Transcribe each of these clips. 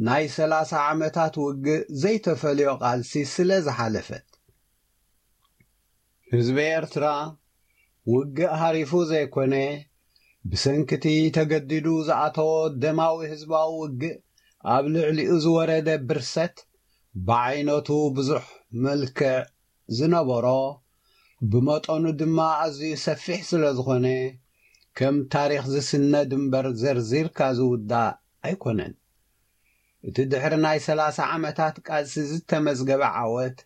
ናይ ሰላሳ ዓመታት ውግእ ዘይተፈልዮ ቃልሲ ስለ ዝሓለፈት። ህዝቢ ኤርትራ ውግእ ሃሪፉ ዘይኮነ፣ ብሰንክቲ ተገዲዱ ዝኣተዎ ደማዊ ህዝባዊ ውግእ ኣብ ልዕሊኡ ዝወረደ ብርሰት ብዓይነቱ ብዙሕ መልክዕ ዝነበሮ፣ ብመጠኑ ድማ ኣዝዩ ሰፊሕ ስለ ዝኾነ፣ ከም ታሪኽ ዝስነድ እምበር ዘርዚርካ ዝውዳእ ኣይኮነን። እቲ ድሕሪ ናይ ሰላሳ ዓመታት ቃልሲ ዝተመዝገበ ዓወት፣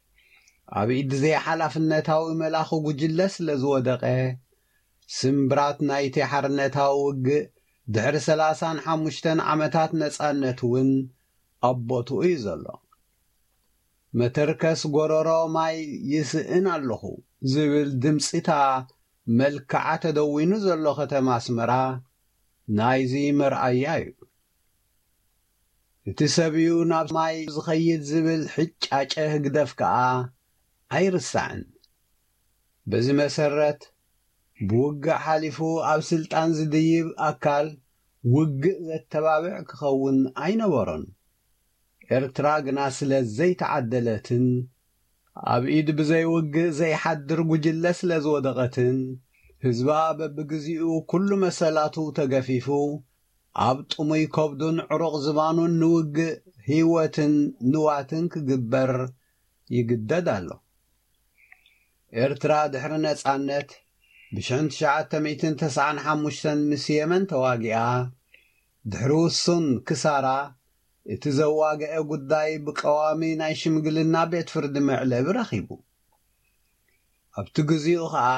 ኣብ ኢድ ዘይሓላፍነታዊ መላኺ ጉጅለ ስለ ዝወደቐ፣ ስምብራት ናይቲ ሓርነታዊ ውግእ ድሕሪ ሰላሳን ሓሙሽተን ዓመታት ነጻነት እውን ኣብ ቦትኡ እዩ ዘሎ። "መተርከስ ጎረሮ ማይ ይስእን ኣለኹ" ዝብል ድምጺታ መልክዓ ተደዊኑ ዘሎ ከተማ ኣስመራ ናይዚ መርኣያ እዩ። "እቲ ሰብ እዩ ናብ ማይ ዝኸይድ" ዝብል ሕጫጨ ህግደፍ ከኣ ኣይርሳዕን። በዚ መሰረት፣ ብውግእ ሓሊፉ ኣብ ስልጣን ዝድይብ ኣካል ውግእ ዘተባብዕ ክኸውን ኣይነበሮን። ኤርትራ ግና ስለ ዘይተዓደለትን ኣብ ኢድ ብዘይ ውግእ ዘይሓድር ጉጅለ ስለ ዝወደቐትን፣ ህዝባ በብግዚኡ ኩሉ መሰላቱ ተገፊፉ፣ ኣብ ጥሙይ ከብዱን ዕሩቕ ዝባኑን ንውግእ ህይወትን ንዋትን ክግበር ይግደድ ኣሎ። ኤርትራ ድሕሪ ነጻነት ብሽሕን ትሽዓተ ሚእትን ተስዓን ሓሙሽተን ምስ የመን ተዋጊኣ፣ ድሕሪ ውሱን ክሳራ፣ እቲ ዘዋግአ ጉዳይ ብቀዋሚ ናይ ሽምግልና ቤት ፍርዲ መዕለቢ ረኺቡ። ኣብቲ ግዚኡ ኸኣ፣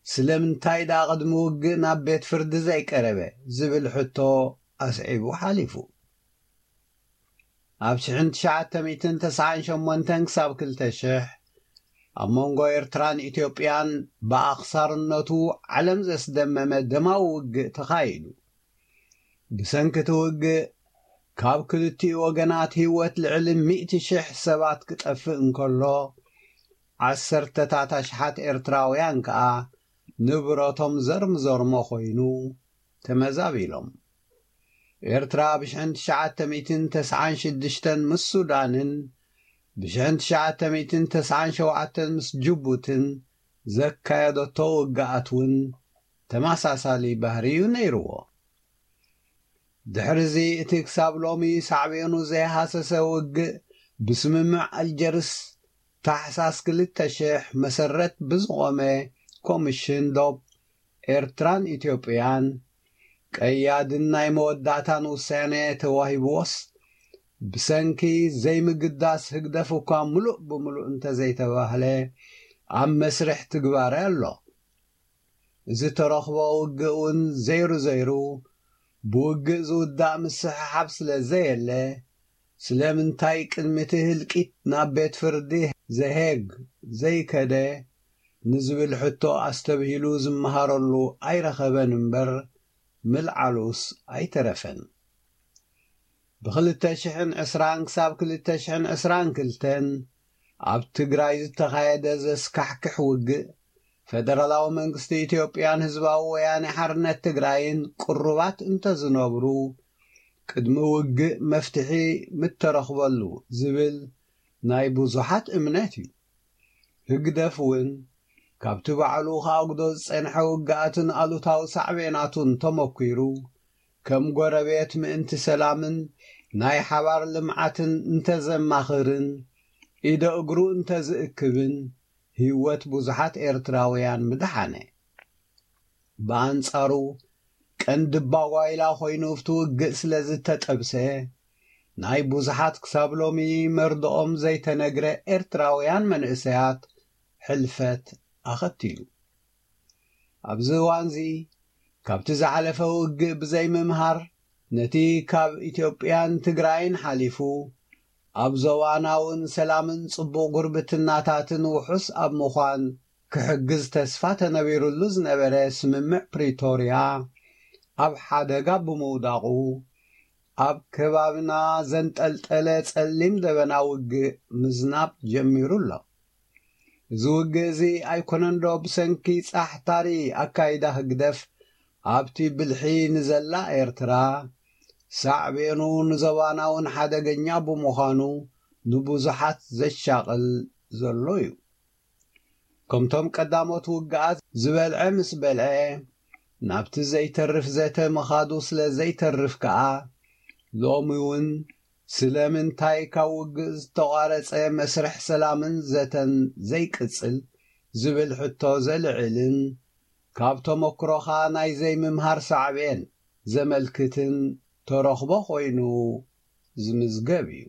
"ስለምንታይ ደኣ ቅድሚ ውግእ ናብ ቤት ፍርዲ ዘይቀረበ?" ዝብል ሕቶ ኣስዒቡ ሓሊፉ። ኣብ ሽሕን ትሽዓተ ሚእትን ተስዓን ሸሞንተን ክሳብ ክልተ ሽሕ፣ ኣብ መንጎ ኤርትራን ኢትዮጵያን ብኣኽሳርነቱ ዓለም ዘስደመመ ደማዊ ውግእ ተኻይዱ። ብሰንኪ እቲ ውግእ፣ ካብ ክልቲኡ ወገናት ህይወት ልዕሊ ሚእቲ ሽሕ ሰባት ክጠፍእ እንከሎ፣ ዓሰርተታት ኣሽሓት ኤርትራውያን ከኣ ንብረቶም ዘርምዘርሞ ኮይኑ ተመዛቢሎም። ኤርትራ ብሽሕን ትሽዓተ ሚእትን ተስዓን ሽዱሽተን ምስ ሱዳንን ብሽሕን ትሽዓተ ሚእትን ተስዓን ሸውዓተን ምስ ጅቡትን ዘካየደቶ ውግኣት እውን ተመሳሳሊ ባህሪ እዩ ነይርዎ። ድሕሪዚ እቲ ክሳብ ሎሚ ሳዕቤኑ ዘይሃሰሰ ውግእ ብስምምዕ ኣልጀርስ ታሕሳስ ክልተ ሽሕ መሰረት ብዝቖመ ኮሚሽን ዶብ ኤርትራን ኢትዮጵያን ቀያድን ናይ መወዳእታን ውሳኔ ተዋሂብዎስ፣ ብሰንኪ ዘይምግዳስ ህግደፍ እኳ ምሉእ ብምሉእ እንተዘይተባህለ፣ ኣብ መስርሕ ትግባረ ኣሎ። እዚ ተረኽቦ ውግእ እውን ዘይሩ ዘይሩ ብውግእ ዝውዳእ ምስሕሓብ ስለ ዘየለ፣ ስለምንታይ ቅድሚ እቲ ህልቂት ናብ ቤት ፍርዲ ዘሄግ ዘይከደ ንዝብል ሕቶ ኣስተብሂሉ ዝመሃረሉ ኣይረኸበን እምበር፣ ምልዓሉስ ኣይተረፈን። ብኽልተ ሽሕን ዕስራን ክሳብ ክልተ ሽሕን ዕስራን ክልተን ኣብ ትግራይ ዝተኻየደ ዘስካሕክሕ ውግእ፣ ፈደራላዊ መንግስቲ ኢትዮጵያን ህዝባዊ ወያነ ሓርነት ትግራይን ቅሩባት እንተዝነብሩ፣ ቅድሚ ውግእ መፍትሒ ምተረኽበሉ ዝብል ናይ ብዙሓት እምነት እዩ። ህግደፍ እውን ካብቲ ባዕሉ ከኣጉዶ ዝጸንሐ ውግኣትን ኣሉታዊ ሳዕቤናቱን ተመኲሩ፣ ከም ጎረቤት ምእንቲ ሰላምን ናይ ሓባር ልምዓትን እንተዘማኽርን፣ ኢደ እግሩ እንተዝእክብን፣ ህይወት ብዙሓት ኤርትራውያን ምድሓነ። ብኣንጻሩ፣ ቀንዲ ባጓይላ ኮይኑ ኣብቲ ውግእ ስለ ዝተጠብሰ፣ ናይ ብዙሓት ክሳብ ሎሚ መርድኦም ዘይተነግረ ኤርትራውያን መንእሰያት ሕልፈት ኣኸቲሉ። ኣብዚ እዋንዚ፣ ካብቲ ዝሓለፈ ውግእ ብዘይምምሃር፣ ነቲ ካብ ኢትዮጵያን ትግራይን ሓሊፉ፣ ኣብ ዞባናውን ሰላምን ጽቡቕ ጉርብትናታትን ውሑስ ኣብ ምዃን ክሕግዝ ተስፋ ተነቢሩሉ ዝነበረ ስምምዕ ፕሪቶርያ ኣብ ሓደጋ ብምውዳቑ፣ ኣብ ከባብና ዘንጠልጠለ ጸሊም ደበና ውግእ ምዝናብ ጀሚሩ ኣሎ። እዚ ውግእ እዚ ኣይኮነንዶ ብሰንኪ ጻሕታሪ ኣካይዳ ህግደፍ ኣብቲ ብልሒ ንዘላ ኤርትራ፣ ሳዕቤኑ ንዞባና እውን ሓደገኛ ብምዃኑ ንብዙሓት ዘሻቕል ዘሎ እዩ። ከምቶም ቀዳሞት ውግኣት ዝበልዐ ምስ በልዐ ናብቲ ዘይተርፍ ዘተ ምኻዱ ስለ ዘይተርፍ ከኣ ሎሚ እውን ስለምንታይ ካብ ውግእ ዝተቋረጸ መስርሕ ሰላምን ዘተን ዘይቅጽል ዝብል ሕቶ ዘልዕልን ካብ ተመክሮኻ ናይ ዘይምምሃር ሳዕቤን ዘመልክትን ተረኽቦ ኮይኑ ዝምዝገብ እዩ።